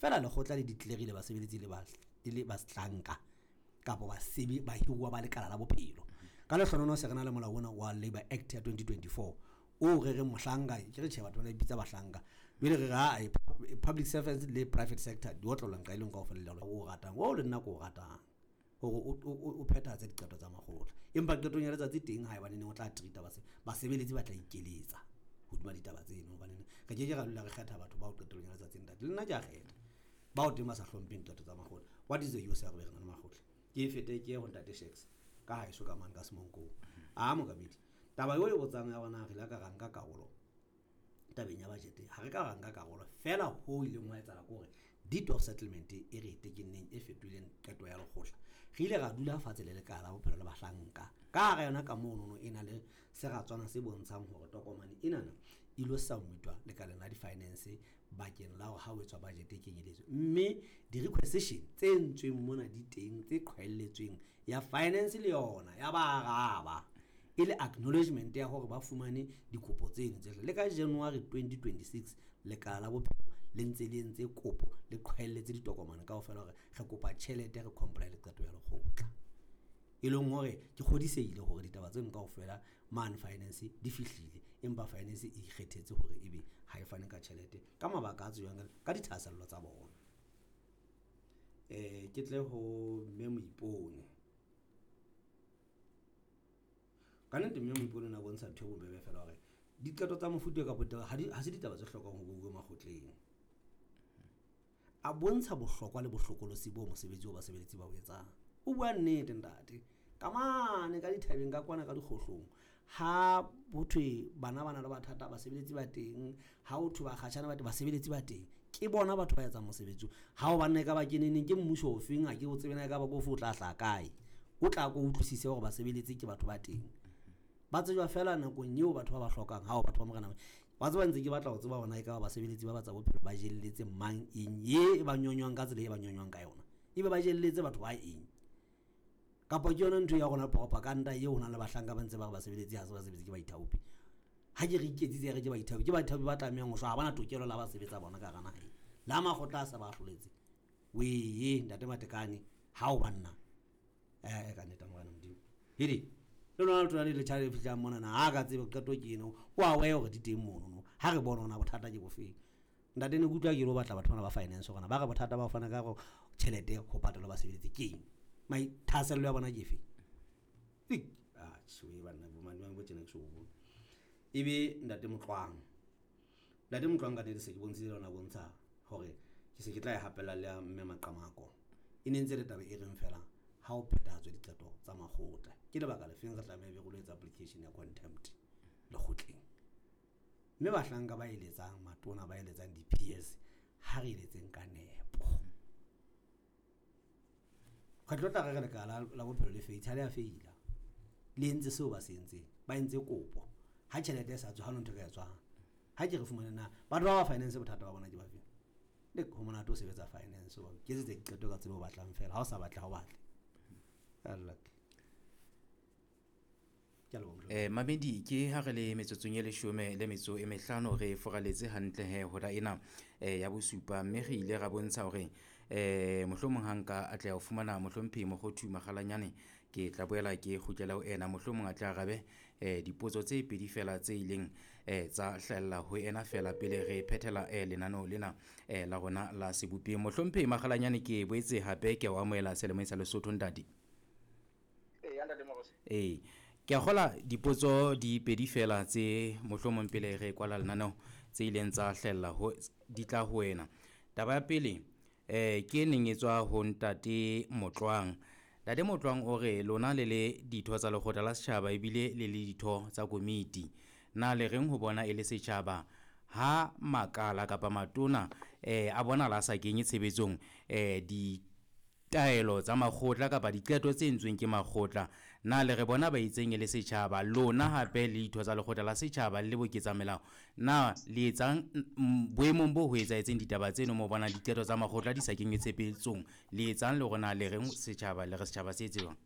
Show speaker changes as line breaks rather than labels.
Feela lekgotla le declarile basebeletsi le ba e le bahlanka kapa basebe bahiruwa ba lekala la bophelo. Ka lehlohonolo se re na le molao ona wa Labour Act ya 2024 o re reng mohlanka, ke re tjhe, batho ba ipitsa bahlanka, jwale re re ha public servants le private sector di otlolwa nqa e leng kaofela le o ratang o le nna ko o ratang hore o phethahatse diqeto tsa makgotla. Empa qetong ya letsatsi teng haebane neng o tla treat-a basebeletsi ba tla ikeletsa hodima ditaba tseno, hobane re ke ke ra dula re kgetha batho bao qetellong ya letsatsi. Ntate, le nna ke a kgetha bao teng ba sa hlompheng qeto tsa makgotla. What is the use ya re be re na le makgotla? Ke e fete ke ye ho ntate Shaks ka haeso ka mane ka Semonkong. A mokamedi, taba eo e botsang ya bona, re ile ka ra nka karolo tabeng ya budget, ha re ka ra nka karolo fela. Ho ileng wa etsahala ke hore deed of settlement e re e tekenneng e fetohileng qeto ya lekgotla, re ile ra dula fatshe le lekala la bophelo le bahlanka ka hara yona ka monono. E na le seratswana se bontshang hore tokomane enana e lo submitwa lekaleng la di-finance bakeng la hore ha o etswa budget e kenyeletswe, mme di-requisition tse entsweng mona di teng tse qhwaelletsweng ya finance le yona ya ba araba e le acknowledgement ya hore ba fumane dikopo tseno tse. Le ka January 2026 lekala la bophelo le ntse le entse kopo, le qhwaelletse ditokomane kaofela hore re kopa tjhelete, re comply le qeto ya lekgotla. E leng hore ke kgodisehile hore ditaba tseno kaofela mane finance di fihlile, empa finance e ikgethetse hore ebe ha e fane ka tjhelete ka mabaka a tsejwang ka dithahasello tsa bona. Ke tle ho mme Moipone. Ka nnete mme Moipone o ne a bontsha ntho e bobebe fela hore diqeto tsa mofuta kapa ha se ditaba tse hlokang ho beuwe makgotleng. A bontsha bohlokwa le bohlokolosi bo mosebetsi o basebeletsi ba o etsang. O bua nnete ntate, ka mane ka dithabeng ka kwana ka dikgohlong, ha ho thwe bana ba na le bothata, basebeletsi ba teng. Ha ho thwe bakgatjhane ba teng, basebeletsi ba teng. Ke bona batho ba etsang mosebetsi. Ha o banna e ka ba ke neneng, ke mmuso ofeng, ha ke o tsebe na e ka ba ko ofe, o tla hlaha kae, o tla ko utlwisise hore basebeletsi ke batho ba teng, ba tsejwa fela nakong eo batho ba ba hlokang. Ha o batho ba morena wa tseba, ntse ke batla ho tseba hore na e ka ba basebeletsi ba ba tsa bophelo ba jelletse mang eng ye e ba nyonywang ka tsela e ba nyonywang ka yona, ebe ba jelletse batho ba eng, kapa ke yona ntho ya rona propaganda eo ho nang le bahlanka ba ntse ba re basebeletsi ha se basebetsi, ke baithaopi. Ha ke re iketsitse re ke baithaopi, ke baithaopi ba tlamehang ho shwa, ha bana tokelo la ba sebetsa bona ka hara naha e la makgotla a sa ba ahloletse. Wee ntate Matekane, ha o banna ka nnete morena Modimo hede le lona letona le letjha le fihlang mona na ha ka tsebe qeto ke eno o a weya hore di teng mono. Ha re bone hona bothata ke bofeng. Ntate, ne ke utlwa ke lo batla batho bana ba finance hore ba re bothata ba ho fana ka go tjhelete ho patala basebeletsi ke eng, thahasello ya bona ke efe. Ah tjhe, banna bo mane bo tjena ke so bone. Ebe ntate Motlwang, ntate Motlwang, ka nnete se ke bontshitse lona, bontsha hore ke se ke tla e hapella le ya mme Maqamako. E ne ntse le taba e reng fela ha o phethahatswe diqeto tsa makgotla, ke lebaka lefeng re tlameha be re lo etsa application ya contempt lekgotleng? Mme bahlanka ba eletsang matona, ba eletsang di-PS, ha re eletseng ka nepo. Kgetlo tla re re lekala la bophelo le feitse, ha le a feila, le entse seo ba se entseng, ba entse kopo. Ha tjhelete e sa tswe, ha no ntho e ka etswang. Ha ke re fumane na batho ba ba finance bothata ba bona ke ba feng. Le ho monate o sebetsa finance, o ketsetsa diqeto ka tsela o batlang fela, ha o sa batle ha o batle. Allah, ke a leboha, mohlomphehi.
Mamedi, ke ha re le metsotsong e 15, re foraletse hantle he hora ena ya bosupa, mme re ile ra bontsha hore mohlomong ha nka atleha ho fumana mohlomphehi Mokgothu Makgalanyane, ke tla boela ke kgutlela ho ena, mohlomong a tla arabe dipotso tse pedi fela tse ileng tsa hlahella ho ena fela pele re phethela lenaneo lena la rona la sebopeng. Mohlomphehi Makgalanyane, ke boetse hape ke o amohela selemong sa Lesotho, ntate.
Ee, ntate Morosi.
Ee, ke a kgola dipotso di pedi fela tse mohlomong pele re kwala lenaneo tse ileng tsa hlahella ho di tla ho wena. Taba ya pele ke e neng e tswa ho ntate Motlwang. Ntate Motlwang o re lona le le ditho tsa lekgotla la setjhaba ebile le le ditho tsa komiti, na le reng ho bona e le setjhaba ha makala kapa matona a bona la sa kenye tshebetsong di taelo tsa makgotla kapa diqeto tse entsweng ke makgotla? Na le re bona ba itseng e le setjhaba, lona hape le ditho tsa lekgotla la setjhaba le boketsa melao, na le etsang boemong bo ho etsahetseng ditaba tseno mo bonang diqeto tsa makgotla di sa kenywe tshebetsong? Le etsang le rona le reng setjhaba, le re setjhaba se etse jwang?